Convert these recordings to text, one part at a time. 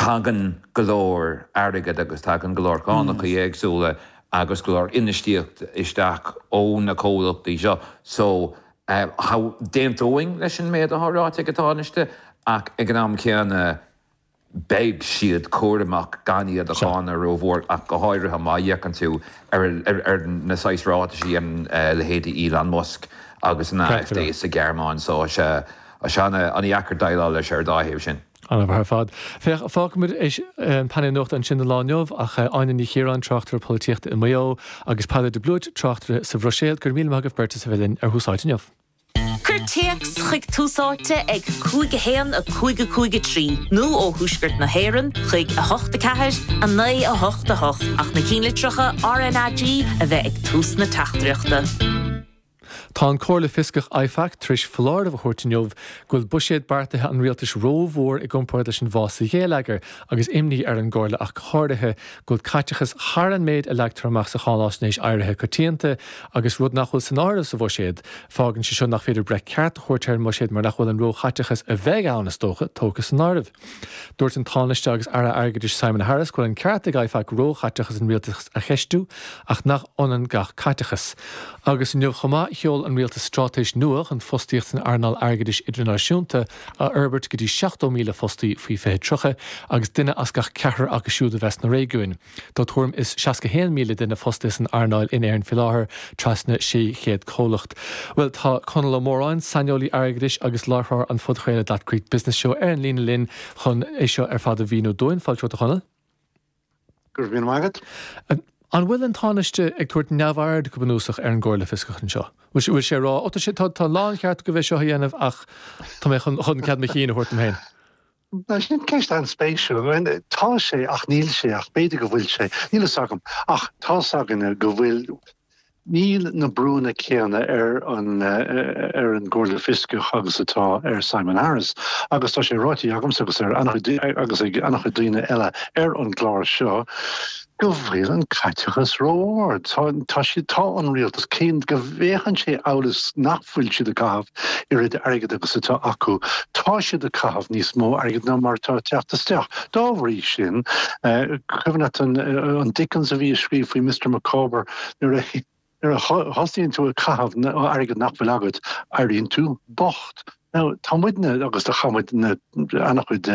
Tagann go leor airgead agus tagann go leor cánacha éagsúla agus go leor infheistíocht isteach ó na comhlachtaí seo so d'aontóinn leis an méid atá ráite ag an Tánaiste ach ag an am céanna beidh siad cúramach gan iad a cháineadh rómhór ach go háirithe má fhéachann tú ar na saghas ráitis a dhéanann leithéidí Elon Musk agus an AfD sa Ghearmáin so tá sé an-dheacair déileáil leis ar an dá thaobh sin. An-mhaith ar fad. Féach, fágfaimid an painéal nuachta ansin don lá inniu, ach Áine Ní Chiaráin, tráchtaire polaitíochta i Maigh Eo, agus Peadar de Blúit, tráchtaire sa Bhruiséil, go raibh míle maith agaibh beirt as a bheith linn ar Thús Áite inniu. Cuir téacs chuig Tús Áite ag 5 1 5 5 3 nó ó Thuaisceart na hÉireann chuig 8 4 9 8 8 ach na cinnlitreacha RnaG a bheith ag tús na teachtaireachta. Tá an Comhairle Fioscach IFAC tar éis foláireamh a thabhairt inniu go bhfuil buiséad beartaithe an rialtais rómhór i gcomparáid leis an bhfás sa gheilleagar agus imní ar an gComhairle ach go háirithe go bhfuil caiteachas thar an méid a leagtar amach sa cháináisnéis éirithe coitianta agus rud nach bhfuil san áireamh sa bhuiséad. Fágann sé seo nach féidir breith ceart a thabhairt ar an mbuiséad mar nach bhfuil an róchaiteachas a bheidh ann, is dócha, tógtha san áireamh. Dúirt an Tánaiste agus Aire Airgeadais Simon Harris go bhfuil an ceart ag IFAC róchaiteachas an rialtais a cheistiú ach nach ionann gach caiteachas. Agus inniu chomh maith, sheol an rialtas straitéis nua chun fostaíocht san earnáil airgeadais idirnáisiúnta a fhorbairt go dtí 70,000 fostaí faoi 2030 agus duine as gach ceathrar acu siúd a bheith sna réigiúin. Tá tuairim is 61,000 duine fostaithe san earnáil in Éirinn faoi láthair, trasna 600 comhlacht. Bhuel, tá Conall Ó Móráin, saineolaí airgeadais agus láithreoir an phodchraoladh That Great Business Show ar an líne linn chun é seo ar fad a mhíniú dúinn. Fáilte romhat, a Chonaill. Go raibh míle maith agat. An bhfuil an Tánaiste ag tabhairt neamhaird go bunúsach ar an gComhairle Fioscach anseo? Bhfuil sé ag rá, ó tá sé, tá a láncheart agaibh é seo a dhéanamh ach tá mé chun cead mo chinn a thabhairt dom féin? Bhuel, sin ceist an-spéisiúil. Tá sé ach níl sé ach b'fhéidir go bhfuil sé. Níl fhios agam. Ach tá's againne go bhfuil, níl na brúnna céanna ar an ar an gComhairle Fioscach agus atá ar Simon Harris. Agus tá sé ráite agamsa agus ar an-chuid agus ag an-chuid daoine eile ar an gclár seo go bhfuil an caiteachas ró-ard. Tá, tá siad, tá an rialtas, cé go bhféachann sé amhail is nach bhfuil siad ag caitheamh oiread airgid agus atá acu, tá siad ag caitheamh níos mó airgid ná mar atá ag teacht isteach. Dá bhrí sin, cuimhin leat an, an Dickens a bhí ag scríobh faoi Mr Micawber, nuair a, nuair a thosaíonn tú ag caitheamh airgead nach bhfuil agat, éiríonn tú bocht. Now, tá muidne, agus do chaith muid an-chuid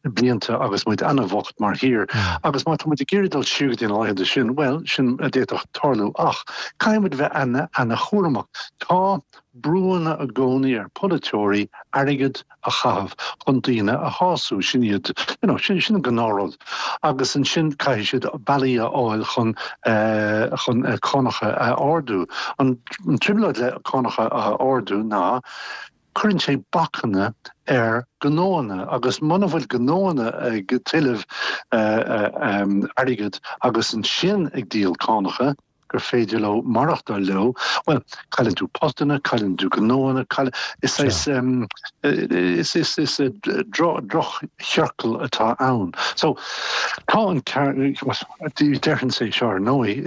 blianta agus muid an-bhocht mar thír, agus má tá muid ag iarraidh dul siar go dtí na laethanta sin, bhuel, sin a d'fhéadfadh tarlú, ach caithfidh muid bheith ana-chúramach. Tá brúanna i gcónaí ar pholaiteoirí airgead a chaitheamh chun daoine a shású, sin iad, you know, sin, sin an gnáthrud. Agus ansin caithfidh siad bealaí a fháil chun, chun cánacha a ardú. An trioblóid le cánacha a ardú ná cuireann sé bacanna ar ghnóanna agus muna bhfuil gnóanna ag tuilleamh airgead agus ansin ag díol cánacha, gur féidir leo maireachtáil leo, bhuel, cailleann tú postanna, cailleann tú gnóanna, cailleann, is saghas, is, is, is drochchiorcal atá ann. So, tá an ceart, déarfainnse é seo ar ndóigh,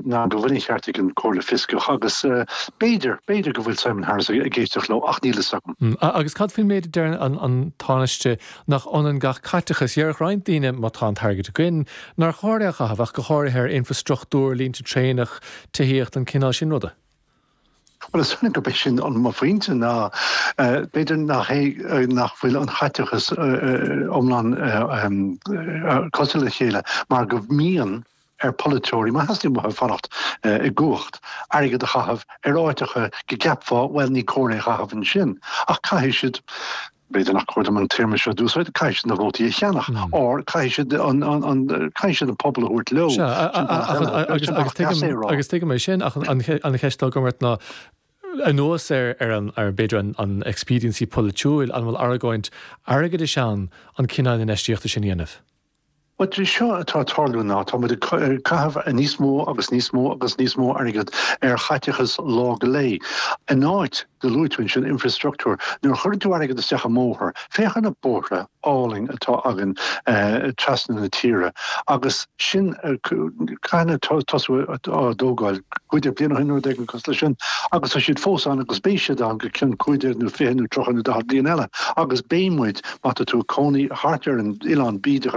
ná go bhfuil an ceart ag an Chomhairle Fioscach agus b'fhéidir, b'fhéidir go bhfuil Simon Harris ag éisteacht leo ach níl fhios agam. Agus cad faoin méid a deir an Tánaiste nach ionann gach caiteachas. Déarfadh roinnt daoine, má tá an t-airgead againn, nár chóir é a chaitheamh, ach go háirithe ar infreastruchtúr, línte traenach, tithíocht, an cineál sin ruda. Bhuel, is dóigh gurb é sin an mo phointe ná b'fhéidir nach é nach bhfuil an chaiteachas iomlán cosúil le chéile mar go mbíonn ar pholaiteoirí, má theastaíonn uathu fanacht i gcumhacht, airgead a chaitheamh ar áiteacha go gceapfá, bhuel, ní cóir é a chaitheamh ansin. Ach caithfidh siad, b'fhéidir nach cóir dom an téarma seo a d'úsáid, caithfidh siad na vótaí a cheannach, or caithfidh siad an, an, caithfidh siad an pobal a thabhairt leo. Sea, agus tuigim é sin, ach an cheist atá agam ort ná, anuas ar ar an, ar b'fhéidir an, an expediency polaitiúil, an bhfuil argóint airgeadais ann an cineál infheistíochta sin a dhéanamh? Bhuel, é seo atá ag tarlú ná tá muid ag caitheamh níos mó agus níos mó agus níos mó airgead ar chaiteachas lá go lae. In áit, do luaigh tú ansin infreastruchtúr, nuair a chuireann tú airgead isteach i mbóthar, féach ar na bóithre álainn atá againn trasna na tíre agus sin, cathain a tosaíodh á dtógáil, 15 bliain ó shin nó rud éigin cosúil leis sin, agus tá siad fós ann agus beidh siad ann go cionn 15 nó 20 nó 30 nó 40 bliain eile agus beidh muid, má tá tú ag cónaí thart ar an Oileán Bídeach.